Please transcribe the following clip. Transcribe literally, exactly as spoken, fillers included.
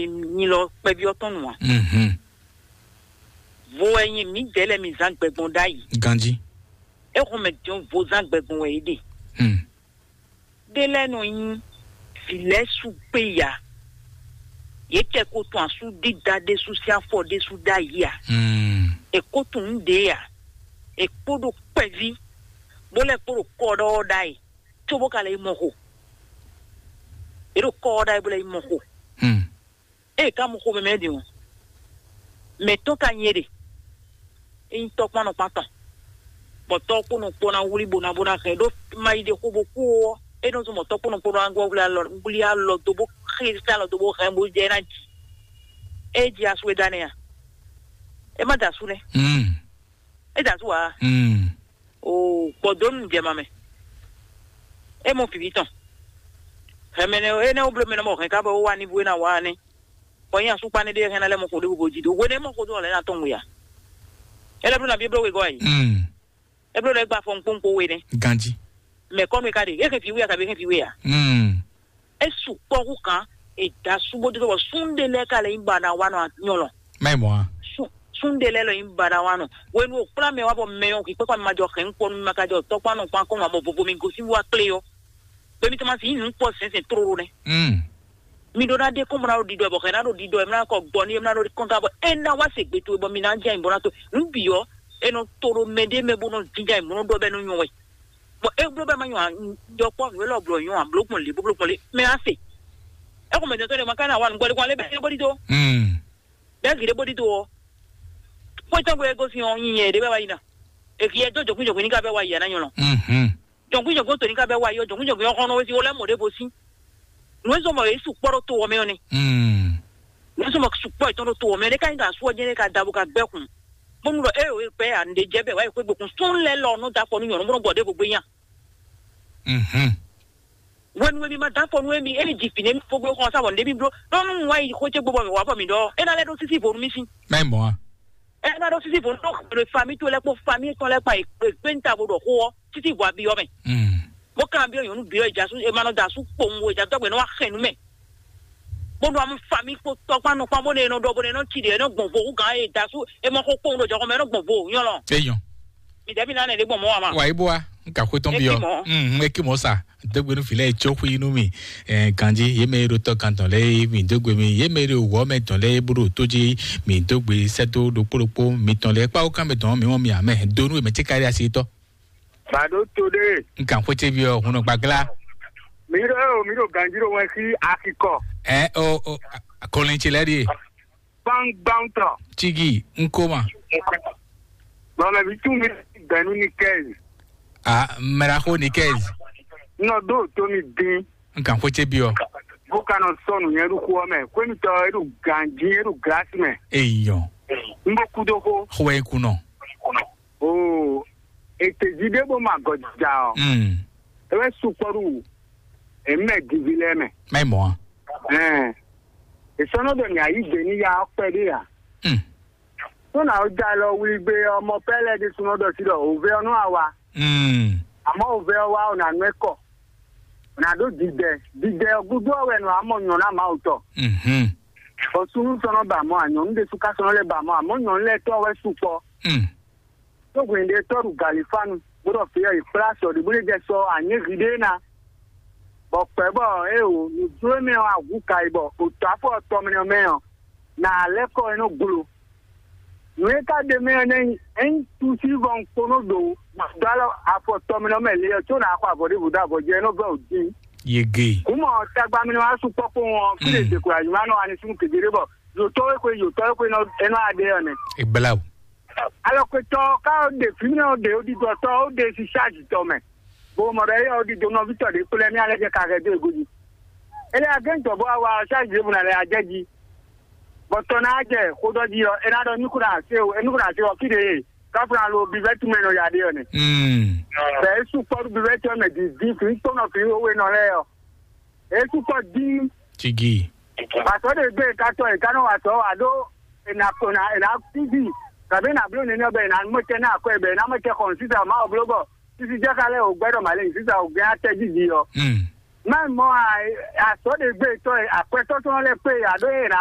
nyi lɔ kpɛví ɔ́ tɔn nú ǎ. Mhm. Vo wɛ nyi mǐdɛɛ lɛ́ɛ mi zán gbɛgbɔn ɖ'ayǐ. Ganjí. É xɔn mɛ din vo zán gbɛgbɔn wɛ é ɖe. Hmm. Ɖé lɛ́ɛ nɔ nyí vǐ lɛ́ɛ sú kpé ya. Yě kɛ ko tun asú dídá ɖésú sín afɔ ɖésú ɖ'ayǐ a? Hmm. È ko tun nǔ ɖě a? È kpo ɖo kpɛví, bó lɛ́ kpo ɖo kɔ ɖɔ ɔ́ ɖ'ayǐ, cóbó ka lɛ́ yi mɔ xo. È ɖo kɔ ɔ́ ɖ'ayǐ bó lɛ́ yi mɔ xo. Hmm. Ée ka mɔ xomɛ mɛ ɖe ɔ́, mɛ tɔn ka nyɛ ɖe. É nyí tɔ́kpán nɔkpán tɔn, bɔ tɔ́ kpó nɔ kpó ná wlí bó ná bó ná hɛn ɖó ma yi ɖe xó bó kú ɔ́, é nɔ zɔn bɔ tɔ́ kpó nɔ kpó ná wlí alɔ wlí alɔ dó bó xlí alɔ dó bó hɛn bó jɛ ná ji. É ji asú é dá nɛ a? É má da asú nɛ. Mm. É da asú a? Mm. O gbɔdɔnu jɛ ma mɛ. É mɔ fǐví tɔn. Hɛmɛ nɛ é nɛ wó bló mɛ nɔ mɔ hɛn ká bɔ wó wá ní bó é ná wá nɛ. Bɔ nyɛ asúkpa ne ɖe hɛn na lɛ mɔ xo ɖe bo ji do. Wene mɔ xo do lɛ na tɔn ŋu ya. Ele blo na bi blo we gɔ yi. Mm. E blo lɛ gba fɔ nkpɔnkpɔ we ne. Ganji. Mɛ kɔnu ka de. E ke fi we ya ka be ke fi we ya. Mm. E su kpɔ ku kan. E da su bo do bɔ sun de lɛ ka lɛ yin ba na wa nɔ nyɔlɔ. Mai mɔ a. Sun de lɛ lɔ yin ba na wa nɔ. Wenu o kpla mɛ wa bɔ mɛ yɔ ki kpekpa mi ma jɔ xɛ nkpɔ mi ma ka jɔ tɔkpa nɔ kpan kɔn ma bɔ vovo mi gosi wa kple yɔ. Bɛ mi tɔmasi yi nu kpɔ sɛnsɛn tlolo nɛ. Mm. Mi ɖó ná ɖe kɔn bɔ ná ɖo ɖiɖɔ bɔ xɛ ná ɖo ɖiɖɔ ɛ mlá kɔ gbɔ ní ɛ mlá ɖo kɔn ka bɔ é ná wá se gbe towe bɔ mi ná jɛ ayǐ bɔ ná to nǔ bǐ ɔ́ é nɔ to ɖo mɛ ɖé mɛ bó nɔ jínjá ayǐ bó nɔ ɖɔ bɛ nɔ nyɔ wɛ. Bɔ é bló bɛ ma nyɔ yɔkpɔ nǔ élɔ́ blɔ nyɔ abló gbɔn lě bó bló gbɔn lě mɛ á se. É xɔ mɛ tɔn tɔn ɖe ma ka ná wa nǔgbɔ ɖé kɔn alé bɛ é bó ɖi tó. Mm. Bɛ gǐ ɖé bó ɖi tó ɔ́. Xwé tɔn gbé gosín ɔ́ nyi nyɛ ɖé bɛ wá yi ná. Èkì yɛ dó jɔkún jɔkún ní ká bɛ wá yi yɛ ná nyɔ lɔ. Mhm. Jɔngbí jɔngbí tó ní ká bɛ wá yɔ jɔngbí jɔngbí ɔ́ xɔnɔ wési wọlé mɔ̀ɖé bo sí. Nǔ e zɔmɔ yě su kpɔ́ ɖó to ɔ́ mɛ ɔ́ ni. Mm. Nǔ e zɔmɔ su kpɔ́ yětɔn ɖó to ɔ́ mɛ ɔ́ ní ká nyí ka sú ɔ́ jɛ́n ní ka da bó ka gbɛ́ kun. Bónú ɖɔ é o é kpɛ à nǔɖé jɛ bɛ wá yi xwé gbekun sún lɛ́ lɔ nú da kɔ nú nyɔ̌nu bó nɔ gbɔ ɖěvo gbé nya. Mhm. Wenu e mi ma da kɔ nú émi émi ji fǐ nú émi fó gbé xɔ sá bɔ nǔɖé mi bló. Ɖɔ nú wá yi xó cé gbó bɔ mi wá bɔ mi ɖɔ é ná lɛ́ ɖó sísí vo nú mì sí. Mɛ mɔ a. Ena ɖo sisi vo nɔ xwle fami to lɛ kpó fami tɔn lɛ kpa ekpe nta bo ɖɔ xó ɔ títí vo abi ɔ mɛ. Mm. Bó kan bi ɔ nyɔnu bi ɔ ìjà sú ema nɔ da sú kpowun wo ìjà dɔgbe nɔ wa xɛn nu mɛ. Bó nɔ amu fami kpó tɔkpa nɔ kpɔn bó ne nɔ ɖɔ bó ne nɔ tsi ɖe nɔ gbɔn vo hu gan e da sú ema xó kpowun ɖo jɔxɔ mɛ nɔ gbɔn vo nyɔlɔ. Eyɔn. Mi dɛbi na ne ɖe gbɔn mɔ wa ma. Wa ibo wa. Nka xó tɔn bi ɔ. Eki mɔ. Mm, eki mɔ sa. Dógbe nú filɛ tso xwi nú mi. Eh, ganji ye mɛ ɖo tɔ kan tɔn lɛ mi dógbe mi ye mɛ ɖo wɔ mɛ tɔn lɛ bó ɖo tó jí mi dógbe sɛtó ɖokpó ɖokpó mi tɔn lɛ kpawo kan mɛ tɔn mi wɔn mi amɛ donu mɛ tí kárí asi tɔ. Bàdó tó dé. Nkan xwété bi ɔ hun gbàgbla. Mi ɖo eo mi ɖo ganji ɖo wɛn sí akikɔ. Ɛ o o kɔlɛntsi lɛ ɖi. Gbangban tɔ. Tigi nkoma. Bɔn mɛ bi tún mi bɛnu ni kɛzi. Ah, mɛraxo ni kɛzi. Nɔ ɖo tó mi dín. Nkan xwété bi ɔ. Bó ka nɔ sɔnu nyɛ ɖo xó ɔ́ mɛ. Xwémitɔ e ɖo ganji e ɖo glasi mɛ. Eyɔ. N bó kú dó xó. Xwé kunɔ. Oo, ètè jí ɖé bó ma gɔjija ɔ. Mm. E wɛ sukpɔ ɖu èmi mɛ divi lɛ mɛ. Mɛ mɔ. Ɛn, èsɔnɔ ɖɔ ní ayí gbè ní ya ɔkpɛ ɖé ya. Mm. Tó nà ó já lɔ wlí gbé ọmọ pɛ́lẹ́ ɖé súnmọ́ ɖɔ sí ɖɔ òvé ɔ́ nú àwa. Mm. Àmọ́ òvé ɔ́ wá ò nà nú ẹ kɔ. Ò nà ɖó dìdɛ. Dìdɛ ɔ́ gúdo ɔ́ wɛ nɔ àmọ́ nyɔ̌ná Mawu tɔ. Mhm. Bɔ súnú sɔnɔ ba mɔ ànyɔ̌nú ɖésú ká sɔnɔ lɛ ba mɔ àmọ́ nyɔ̌nú lɛ tɔn wɛ sukpɔ. Mm. Tó hwɛ̌n ɖé tɔ́ ɖu galifánu bó ɖɔ fǐ ɔ́, è kplá sɔ ɖě bó lɛ́ jɛ sɔ anyěhi ɖé ná. Bɔ kpɛ̌ bɔ é o nǔjló mɛ ɔ́ ahu ka yi bɔ òtɔ́ afɔ tɔmlɛ mɛ ɔ́, nà lɛ́ kɔ é nɔ glo. Nǔ e ka ɖe mɛ ɔ́ nɛ́ nyí, ényí túsí vɔ un kponó ɖo dó alɔ afɔ tɔmlɛ mɛ lě ɔ́, có nǎ xɔ avɔ ɖěvo dó avɔ jɛ é nɔ vɛ ò dín. Yege. Kúmɔ tagba mi wá sukpɔ́ kpowun ɔ́, fí lè Mm. dèkò àyùmá nɔ ani súnmù kékeré bɔ yòtɔ́ wé xwe yòtɔ́ wé xwe nɔ é nɔ adé ɔ́ nɛ. Ìgbéláwò. Alɔkwetɔ ká ó ɖe fǐmɛ ó ɖe ó ɖiɖɔtɔ ó ɖe si ṣáàjì tɔ mɛ. Bó mɔ ɖɔ éyɛ́ ó ɖiɖo nɔví tɔ ɖě kplɔ́ mì alɛ jɛ ka hɛ dó ego jí. Ele agɛ́ntɔ bó wa wa ṣáàjì ɖěvo nà lɛ ajɛ jí. Bɔ tɔ ná jɛ xóɖɔ jí ɔ́, é ná ɖɔ nukúnɔ àti o, é nukúnɔ àti ɔ fí ɖe e káfíńlá lo bivɛ́ túmɛ nɔ ya ɖé ɔ́ nɛ. Mm. Bɛ é sú kpɔ́ɖú bivɛ́ tɔ́ mɛ dǐdí fǐ kpónɔ fǐ ó we nɔ lɛ́ɛ ɔ́. É sú kpɔ́ dín. Tigi. Pàtó ɖe gbé katɔ e kánɔ wa tɔ wa ɖó ena kona ena tigi tàbí ena blo nínú bɛ ena mɔtɛ ná akɔ bɛ ena mɔtɛ xɔn sísá ma o blo bɔ sísí jẹ́ kálẹ̀ o gbẹ́dọ̀ màlẹ́ sísá o gbẹ́ atẹ́ jíjí yɔ. Mm. Má mɔ azɔ̌ ɖe gbé tɔn e akwɛtɔ́ tɔn lɛ́ kpé ǎ ɖó e nǎ